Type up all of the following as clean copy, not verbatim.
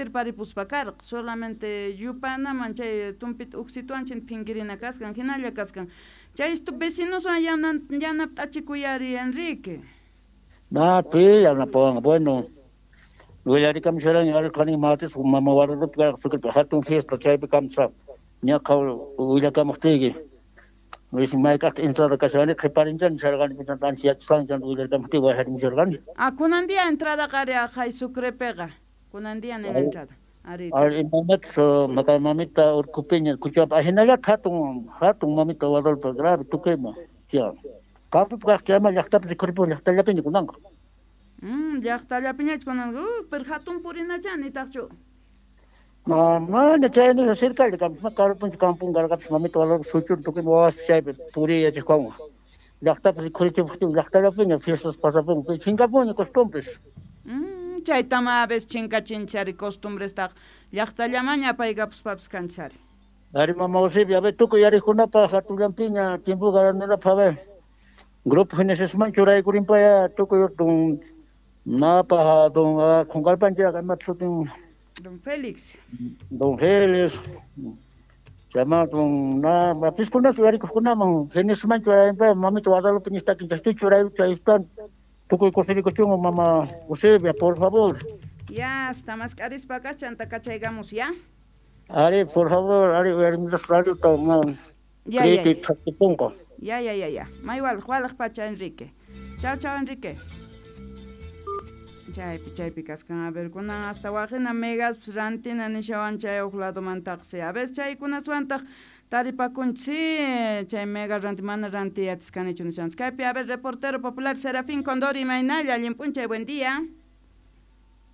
kutirparipuspa karqa, solamente yupanaman chay tumpita uksituwan chin phinkirina kaskan, hinalla kaskan. Chay vecinoswan yanap'achikuyari, Enrique. Na, pi yanapawan, bueno. Willarikamusharani arqani martes mama Guadalupe karqa hatun fiesta chaypi kamsa ñaqa willakamuqtiyki. Wisi mayk'aqta entrada kashani qhiparinchani sharqani chanta ancha yachasqani chanta willarikamuptiyki wajarimusharqani. Ah, kunan día entrada qari aqhay Sucrepiqa. Kunan día nina entrada. Ari. Ari imaynatas maka mamita urqupiña kuchapa ahinallata hatun hatun mamita Guadalupe grave tukuyma tiyan. Campopi kaq chayma llaqtapi rikhuripun llaqtallapiña kunanqa. Llaqtallapiñachu kunan, pero hatun purinacha nitaqchu. No, mana chayni cercalla kampa karupunchu kampun karqapis mamita Guadalupe suchun tukuyma wawas chaypi puriy yachaqwanqa. Llaqtapi rikhurichipuqtin llaqtallapiña fiestas pasapun chinkapunña costumbres. Chaytama a veces chinkachinchari costumbrestaqa llaqtallamaña apaykapuspapas kanchari. Ari mama Eusebia, a ver tukuy yariqkunapaq hatunllampiña tiempo garanalapaq a ver. Grupo Genesisman churaykurinpaya tukuy don napa don qunqarpanchik imata sutin Don Félix. Don Félix. Chama don na piskunas uyarikuqkunaman Genesisman churayrinpaya mamita Guadalupe ñistakin chaytu churay chaytan tukuy kusirikuchunqa mama Eusebia, por favor. Ya, hasta mask'arispa kachanta kachaykamus, ya? Ari, por favor, ari uyarimusaq radiota ma Ya, ya, creepy thaktipunqa. Ya, ya, ya, ya. May walaq, walaq pacha, Enrique. Chao, chao, Enrique. Chaypi, chaypi kaskan. A ver, kunan hasta waqina megas rantina nishawan chay huk ladomantaqsi. A ver, chaykunaswantaq taripakunchik, chay mega ranti mana ranti atiskanichu nishanchik. Kaypi, a ver, reportero popular Serafín Condori, imaynalla, allin p'unchay, buen día.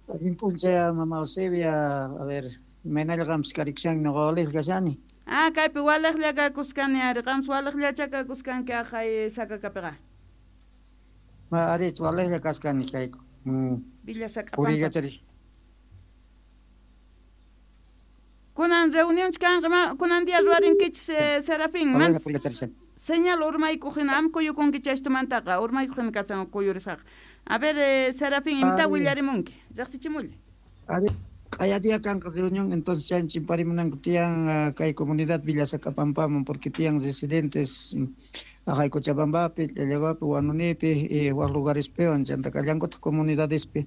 Allin p'unchay, mama Eusebia, a ver, imaynalla qampas karikushanki ñuqa waliqlla kashani. Ah, kaypi waliqlla kakuskani ari, qampas waliqllacha kakuskanki aqhay Sakakapiqa. Ma ari, waliqlla kaskani kayku. Villa Sacapampa. Puriykacharish. Kunan reunión kanqa, ma kunan día ruwarinkichis Serafín, Waliqlla man puriykacharishani. señal urmaykuq hina am kuyukunki chaystumantaqa, urmaykuq hina kasan kuyurisqaqa. A ver, Serafín, imata Ari. willarimunki? Riqsichimulla. Ari, q'aya día kanqa reunión, entonces chaymi chimparimunanku tiyan kay comunidad Villa Sacapampaman, porque tiyan residentes aqhay Cochabambapi, Llallaguapi, Huanunipi, y waq lugarespiwan, chanta kallankutaq comunidadespi,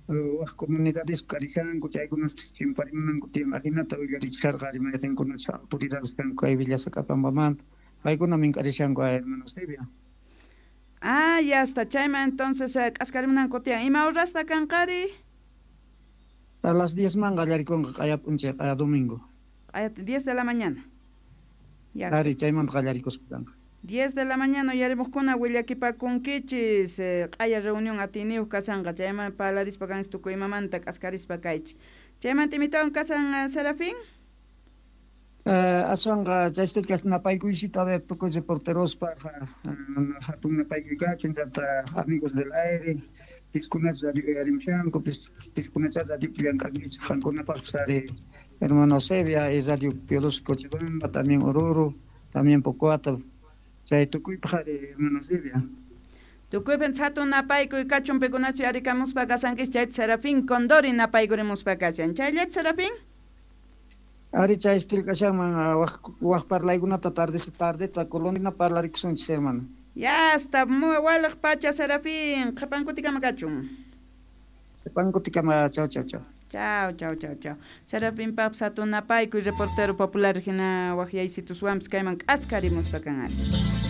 waq comunidadespi karishanku, chaykunaspis chimparimunanku tiyan, ajinata willarichisharqa ari mayqinkunachus autoridades kanku kay Villa Sacapampamanta, paykuna mink'arishanku hermano Eusebia. Ah, ya está, chayman entonces k'askarimunanku tiyan. Ima horasta kanqari? A las 10 man qallarikunqa q'aya p'unchay, q'aya domingo. Q'aya 10 de la mañana. Ya está. Ari, chaymanta qallarikuspa kanqa. 10 de la mañana uyarimuqkuna willakipakunkichis, q'aya reunión atiyniyuq kasanqa, chayman parlarispa kanchis tukuy imamanta k'askarispa kaychik. Chaymanta imitawan kasan Serafín? Aswanqa chaystuchkas napaykuysita, a ver, tukuy reporterospaq, hatun napaykuy kachun, chanta amigos del aire, piskunacha radio uyarimushanku, piskunacha radiopi llank'ankichik, qankunapaqpis ari hermano Eusebia, y Radio Pioloso Cochabamba, también Oruro, también Pocoata, chay tukuypaq ari hermano Eusebia. Tukuypin hatun napaykuy kachun pikunachu yarikamuspa kasankichik, chayta Serafín Condori napaykurimuspa kashan. Chayllachu Serafín? Ari chay kashanman waq parlaykunata tardeta colonina parlarikusunchis hermano. Ya está, muy walaq pacha Serafín, qhipankutikama kachun. Qhipankutikama, chao, chao, chao. Chao, chao, chao, chao. Serafín paps hatun napaykuy reportero popular hina waqyaysituswanpis kayman k'askarimuspa kan ari.